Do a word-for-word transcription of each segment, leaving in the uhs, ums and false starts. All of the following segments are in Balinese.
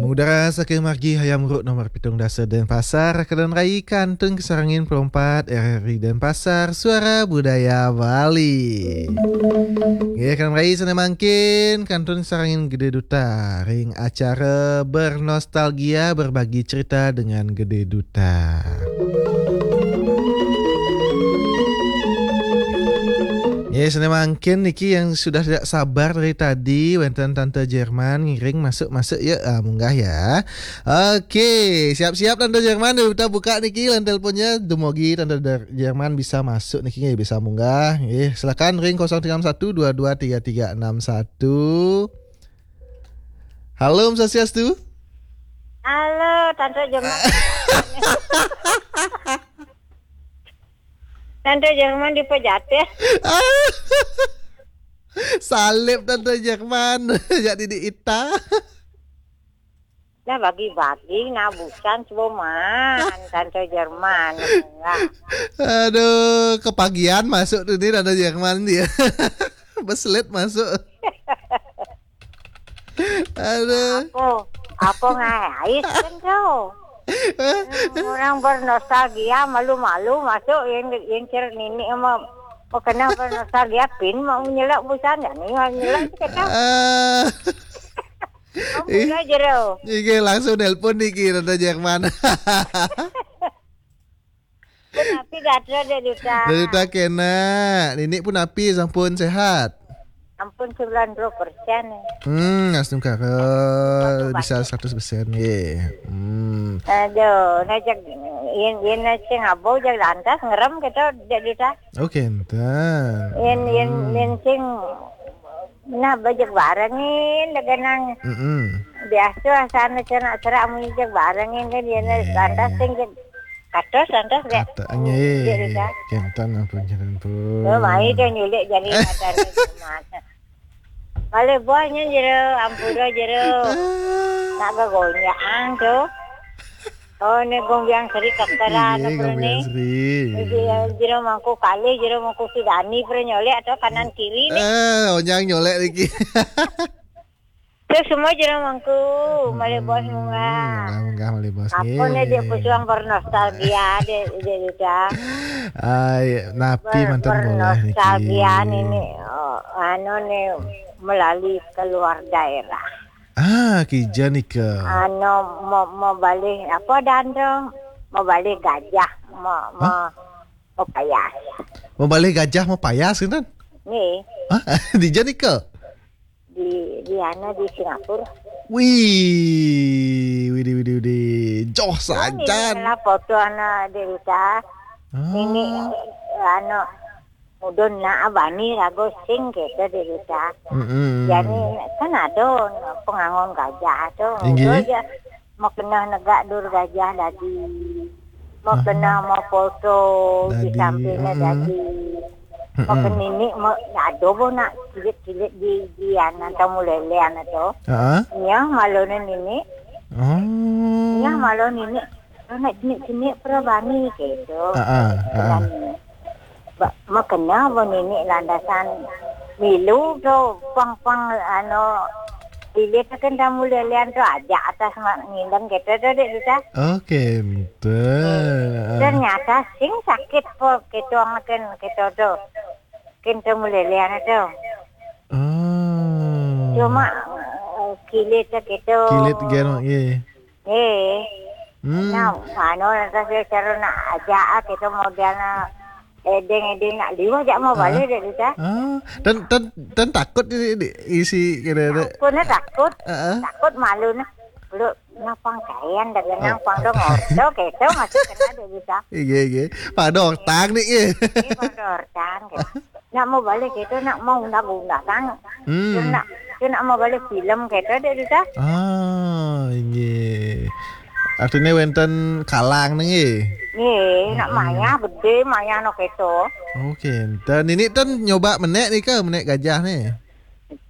Mengudara saking margi Hayam Wuruk nomor pitung dasa Denpasar, kadaun rai kantun kasarengin perempat R R I Denpasar, Suara Budaya Bali. Nggih, kadaun rai sané mangkin kantun kasarengin Gede Duta ring acara Bernostalgia, Berbagi Cerita dengan Gede Duta. Ya, sané mangkin niki yang sudah tidak sabar dari tadi, wénten Tante Jerman ngiring masuk-masuk ya, ah, munggah ya. Oke, siap-siap Tante Jerman, kita buka niki line teleponnya, dumogi Tante Der-, Jerman bisa masuk niki, nggih, bisa munggah. Nggih, silakan ring kosong tiga enam satu dua dua tiga tiga enam satu. Halo, Om Swastiastu. Halo, Tante Jerman. Tante Jerman di Pejatih. Salib Tante Jerman. Jak Didi Ita. Nah, bagi-bagi, nah, bukan, coba man, Tante Jerman. Nah. Aduh, kepagian masuk tuh nih Tante Jerman dia. Beslet masuk. Aduh. Apa? Apa ngais kan kau? Orang bernostalgia, malu-malu masuk yang, yang cer nini sama mau kena bernostalgia, pin mau nyelak busan, ya, nih, mau nyelak tu kata. Ah. Kamu Eh. Pula jero. Nggih, langsung nelpon niki, Tante Jerman. Pun api gatra, Dek Duta. Dek Duta kena. Nini pun api, sampun sehat. Ampun sembilan puluh persen. Hmm, astungkara. Batu-batu. Bisa seratus persen, nggih. Hmm. Aduh, nah, jak, yen, yen sing abo, jak lantas ngerem kita, Dek Duta. Oh, kenten. Yen, yen, hmm. Yen sing, nah, bajak barengin, daganang. Mm-mm. Biasa, sana, sana, serak, mun jak barengin, kan, yen, yeah. Lantas sing, jak, katos, lantas, Dek. Kata, nggih. Iya, Dek, Duta. Kenten, ampun, kenten, ampun. Oh, mai dia nyulik jari mata ni, mata. Balik buahnya jero, ampura jero. Ah. Nak gagonjang tu. Oh, ni gombiang seri kakara. Iya, ampura gombiang ni. Seri. Jadi, ya, jero mangku kalih, jero mangku sidani, pernah nyolek atau kanan kiri ni. Eh, onyang nyolek lagi. Tu semua jero mangku, hmm, malih bos munggah. Munggah, munggah, malih bos. Apa ni dia pejuang bernostalgia, dia, dia, dia. Ai, napi ber-, mantan boleh niki. Bernostalgia ni, ni, oh, anu ni, melalui keluar daerah. Ah, kija nika. Anu, mau, mau balik, apa dan tu? Mau balik gajah, mau, mau, mau payas. Mau balik gajah, mau payas, kan? Ni. Hah? Dija nika? Di, di anu, di Singapura. Wih, widih, widih, widih. Joh sajan. Lah foto anak Dek Duta. Ah. Nini, anu, mudun nak bani rago sing kita, Dek Duta. Mm-mm. Jadi, kan ada pengangon gajah tu. Inggih. Udah aja. Mau kena negak dur gajah dadi. Mau kena mau foto di sampingnya dadi. Mau ke nini, mau ada bo nak kilit-kilit di, di anak tamu lelean tu. Heeh. Nyah malu ni nini. Oh. Nyah malu nini. Nak jenik-jenik perabani gitu. Heeh, heeh. Ba-, makena ba nini landasan milu tu pang-pang anu bilit kan tamu lelean tu aja atas mak ngindeng gitu tu, Dek Duta. Okey, betul. Ternyata sing sakit po ketuang ken keto tu. Ken tamu lelean tu. Oh. Cuma, eh, kilit tu gitu. Kilit gen, okey. Eh. Hmm. Nah, anu, lantas dia cara nak ajak, ah, kita model nak edeng-edeng nak liwah, jak mau balik dek kita. Ah, dan, dan, dan takut di, di isi kira-kira. Takut, nah, takut. Ah, ah. Takut malu, nah. Lu, nah, pang kayan, dah genang, pang dong, ordo, gitu, masih kena dek kita. Iya, iya. Pada ortang nih, iya. Iya, pada ortang, gitu. Nak mau balik itu, nak mau undang-undang. Hmm. Nak, nak mau balik film kita dek kita. Ah, inggih. Artinya wenten kalang nih, nggih? Nggih, nak maya gede, maya no keto. Okey, dan ini tan nyoba menek nih ke, menek gajah nih.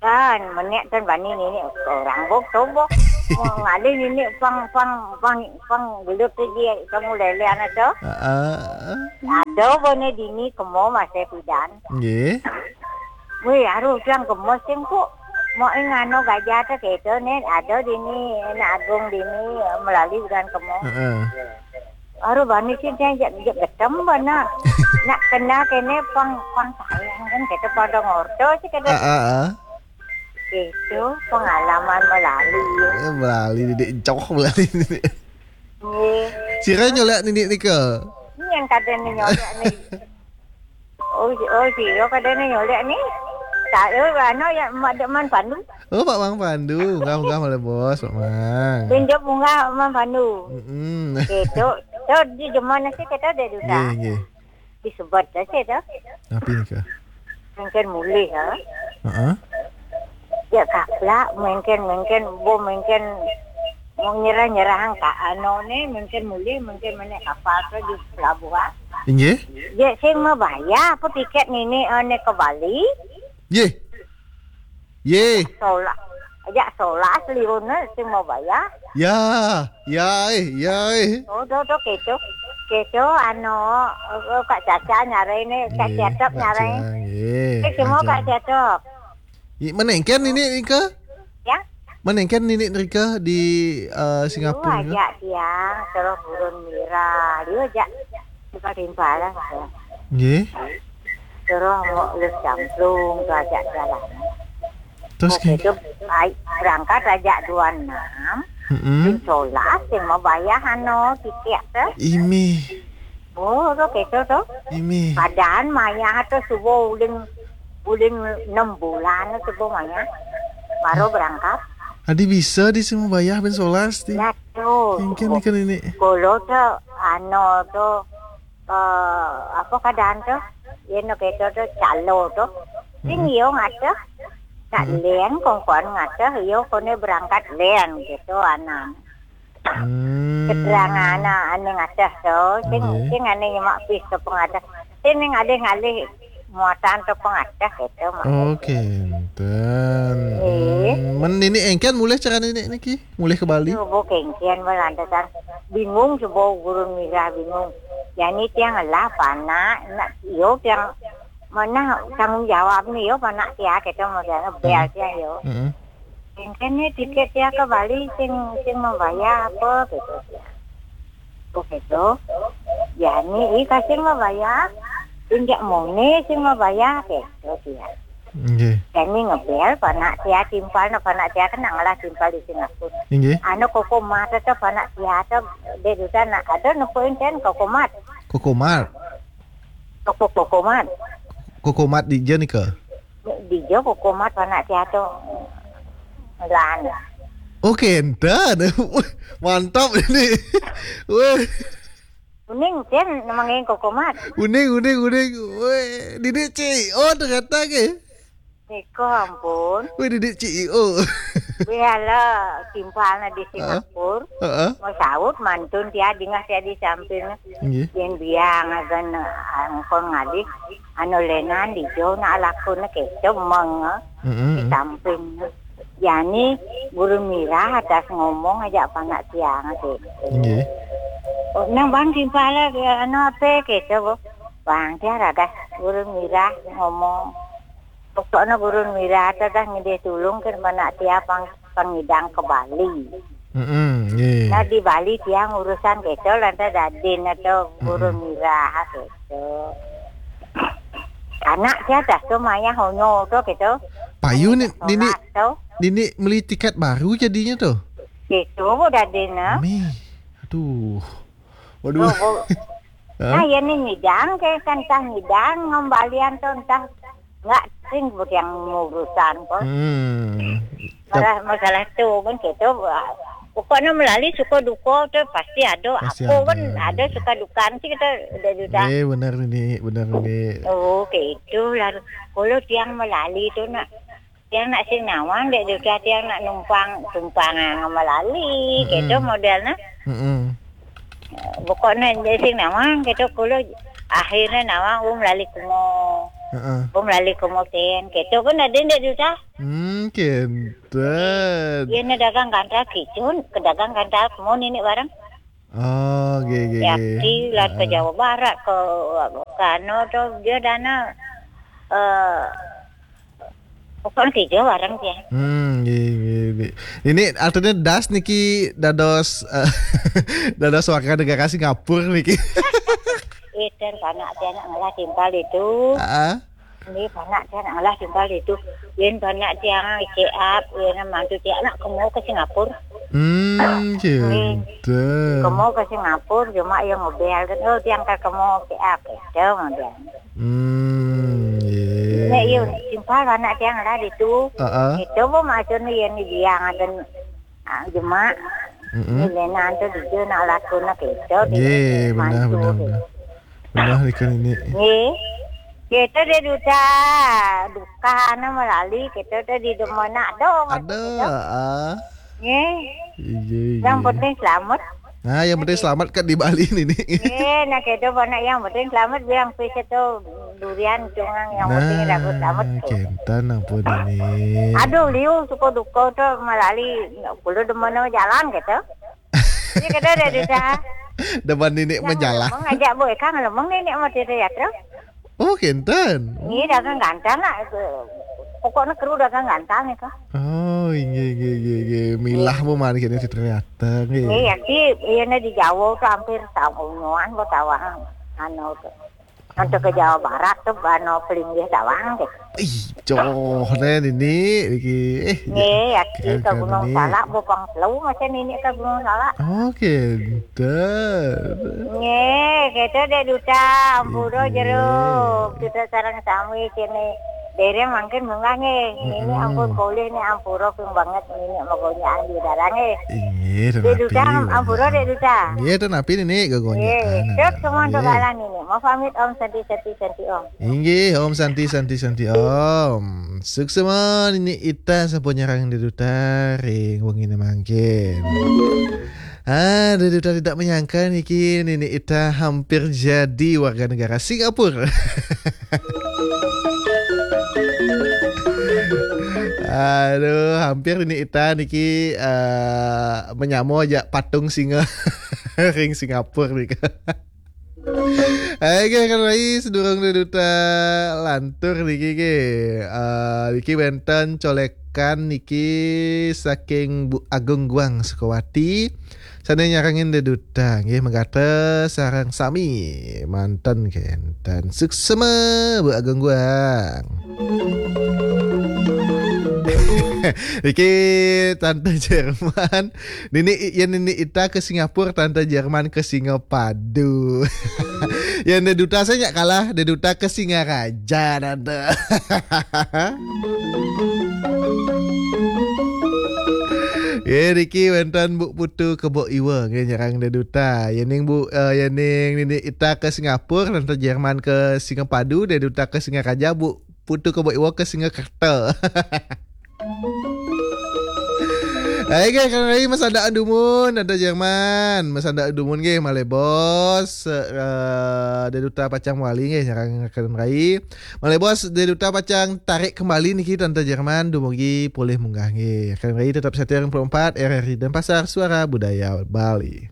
Tan, menek tan bani nini orang bok tobo. Mau ngalih nini pang, pang, pang, pang gelut tu dia, kamu lele anak tu. Heeh. Ada bone dini kemo masih pidan. Nggih. Weh, aru tiang gemes sing kok. Mau ing anu gajah tu gitu ni, ada di ni, nak agung di ni, melalui bulan kemo. Heeh. Aru bani sih dia jak, jak getem bana. Nak kena kene pang, pang sayang kan, kita pada ngorto sih kata. Ah, ah, ah. Gitu, pengalaman melalui. Eh, melalui didik joh melalui. Nggih. Sira nyolek nini nika. Ni yang kada ni nyolek ni. Oh, si, oh, si, oh, kada ni nyolek ni. Tak, oh, anu ya, mak dek Man Pandu. Oh, Pak Mang Pandu. Enggah, enggah, boleh bos, Pak Mang. Tunjuk bunga Man Pandu. Mm-mm. Gitu. So, di zaman nasi kita ada juga. Nggih, nggih. Disebat aja tu. Apa ni ke? Mungkin mulih ya. Heeh. Ya kaplak, mungkin, mungkin, bu, mungkin nyerah-nyerah angka anu ni, mungkin mulih, mungkin mana kapal tu di pelabuhan. Inggih. Ya, sing mau bayar apa tiket ni, ni, uh, ni ke Bali? Ye. Ye. Solah. Ajak solah seliru ni, sing mau bayar. Ya, ya, eh, ya, eh. Oh, tu, tu, kecoh. Kecoh, anu, eh, Kak Caca nyarai ni, Kak Ye, Cetop Kak nyarai. Cang, ye, eh, semua Kak Cang. Cetop. Ye, mana engken nini nika? Ya? Mana engken nini nika di, eh, Singapura nika? Ajak tiang, terus burun mira. Dia ajak timpal-timpal lah. Ye. Terus mau les camplung tu ajak jalan. Terus okey, ke? Tu, ai, berangkat ajak dua enam. Mm-mm. Solas yang mau bayar anu tiket tu. Imi. Oh, tu kecoh tu. Imi. Padahal maya tu subuh ulin, ulin enam bulan tu subuh maya. Baru berangkat. Adi bisa di semua bayar ben solas ti. Ya tu. Mungkin ikan ini. Kalau tu anu tu, eh, apa keadaan tu? Ia nak kata tu calo tu. Sing iyo ngata. Nak len kongkuan ngata, iyo kone berangkat len gitu anan. Hmm. Keterangan anak ane ngata tu, sing, sing ane nyemak pis tu pengatas. Sing ngalih-ngalih muatan tu pengatas gitu mak. Okey, enten. Eh. Hmm, men nini engken mulih cara nini niki? Mulih ke Bali? Subuh kengkian melantasan bingung subuh guru mira bingung. Jani tiang lah panak, nak iyo tiang mana tanggungjawab ni yo panak tia kita mau tiang bel tia yo. Mm-mm. Kengkian ni tiket tia ke Bali sing, sing membayar apa gitu tia. Begitu. Jani i kasing membayar, injak mone sing membayar gitu tia. Nggih. Kami ngebel panak tia timpal, nak panak tia kena ngalah timpal di Singapura. Nggih. Anu koko mata tu panak tia tu dia duta nak ada nepuin ten koko mat. Kokomat. Koko, koko mat. Kokomat di je nika. Di je koko mat panak tia tu lan. Okey, enten. Mantap ini. Weh. Uning ten namanya koko mat. Uning, uning, uning. Weh, didik C E O ternyata ke? Niko ampun. Weh, didik C E O. Biarlah timpalnya di Singapura. Heeh. Mau saut mantun tia dingah tia di samping. Nggih. Yen biang agan angkon ngalih anu lenan di jo nak lakun ke cemeng. Mm-mm. Di samping. Yani guru mira atas ngomong aja panak tiang gitu. Nggih. Oh, nang bang timpal anu apa gitu. Bang tia ragas guru mira ngomong. Pokoknya guru mira tu dah ngidih tulung ke mana tia pang, pangidang ke Bali. Mm-mm, nggih. Nah, di Bali tiang urusan gitu, lantas dadin atau guru mira gitu. Anak tia dah tu maya honyo tu gitu. Payu ni, nini, tu. Nini beli tiket baru jadinya tu? Gitu, dadin ah. Mi. Aduh. Waduh. Oh, oh. Hah? Nah, ya ni ngidang ke kan entah ngidang ngembalian tu entah enggak sing yang urusan pun. Hmm. Masalah, masalah tu pun gitu. Pokoknya melalui suka duka tu pasti ada. Pasti apa ada. Pun ada suka duka sih kita udah sudah. Eh, benar ni, benar ni. Oh, gitu lah. Kalau tiang melalui tu nak Tiang nak sing nawang dek juga tiang nak numpang tumpang ngemelali gitu modelnya. Mm-mm. Pokoknya dek sing nawang gitu kulo akhirnya nawang um lali kumo. Heeh. Um lali kumo ten gitu pun ada dek juga. Hmm, kenten. Iya, na dagang gandal kicun, ke dagang gandal kumo nini barang. Oh, ge, ge, ge. Yakti lah ke Jawa Barat, ke, ke anu tu, dia dana, eh, Pokoknya kerja bareng dia. Hmm, nggih, nggih, nggih. Ini artinya das niki dados, eh, dados warga negara Singapura niki. Itu anak dia nak ngelah timpal itu. Ah. Ini anak dia nak ngelah timpal itu. Yen anak dia ngeceap, yen mantu dia nak kemo ke Singapura. Hmm, gitu. Kemo ke Singapura, cuma yang ngobel kan, oh, dia angkat kemo ceap, itu dia. Hmm, iya. Nek yo timpal anak dia ngelah itu. Heeh. Itu bu maksudnya yen dia ngaten, ah, jema. Mm-mm. Ini nanti dia nak laku nak itu. Iya, benar, benar, benar. Benar ikan ini. Nggih. Kita dia duta duka anu melali kita tu di demonak dong. Ada, ah. Nggih. Iya, iya. Yang penting selamat. Nah, yang penting selamat kan di Bali ini nih. Nggih, nah kita anak yang penting selamat bilang pis itu durian cungang yang penting dapat selamat. Nah, kentan ampun ini. Aduh, liu suka duka tu melali kulo demono jalan gitu. Ini kita ada duta. Depan nenek menjalah. Ngajak boy kan lemong nenek mau cerita ya terus. Oh, kenten. Ini dagang gantan lah. Pokoknya kru dagang gantan itu. Oh, inggih, inggih, inggih, inggih. Milah mu mari kene ternyata nggih. Iya sih, iya nih di Jawa tuh hampir tahun unuan buat tawang anu tuh. Untuk ke Jawa Barat tuh bano pelinggih tawang gitu. Ih, coh nih ini iki. Eh, nggih, ya ke Gunung Salak, bopang telu masih nenek ke Gunung Salak. Oke, nggih, kita dek duta, ampura jeruk, kita sarang sami kene. Dere mangkin munggah nggih. Ini ampun kolih ni ampura ping banget ini magonyaan di darah nggih. Inggih, dek duta ampura dek duta. Nggih, ten api ini gogonyaan. Nggih, terus semua dogalan ini. Mau pamit Om Santi Santi Santi Om. Inggih, Om Santi Santi Santi Om. Suksema ini ita sampun nyarang dek duta ring wengine mangkin. Ah, dek duta tidak menyangka niki nini ita hampir jadi warga negara Singapura. Aduh, hampir ini ita niki eh, menyamo aja patung singa ring Singapura nih. Hai, kan rai sedurung dek duta lantur niki ke. Eh, niki wenten colekan niki saking Bu Agung Guang Sukawati. Sane nyarengin dek duta nggih, megate sareng sami manten kenten. Suksema Bu Agung Guang. Niki Tante Jerman. Nini, ya nini ita ke Singapura, Tante Jerman ke Singapadu. Ya dek duta saya nyak kalah, dek duta ke Singaraja, Tante. Ya, niki wenten Bu Putu Kebo Iwa nggih nyerang dek duta. Yening Bu, eh, yening nini ita ke Singapura, Tante Jerman ke Singapadu, dek duta ke Singaraja, Bu Putu Kebo Iwa ke Singakerta. Hai, guys, kan hari masandaan dumun, Tante Jerman. Masandaan dumun nggih, malih bos, eh, dek duta pacang wali nggih nyerang kan hari. Malih bos, dek duta pacang tarik kembali niki Tante Jerman dumugi polih munggah nggih. Kan hari tetap setia empat R R I Denpasar, Suara Budaya Bali.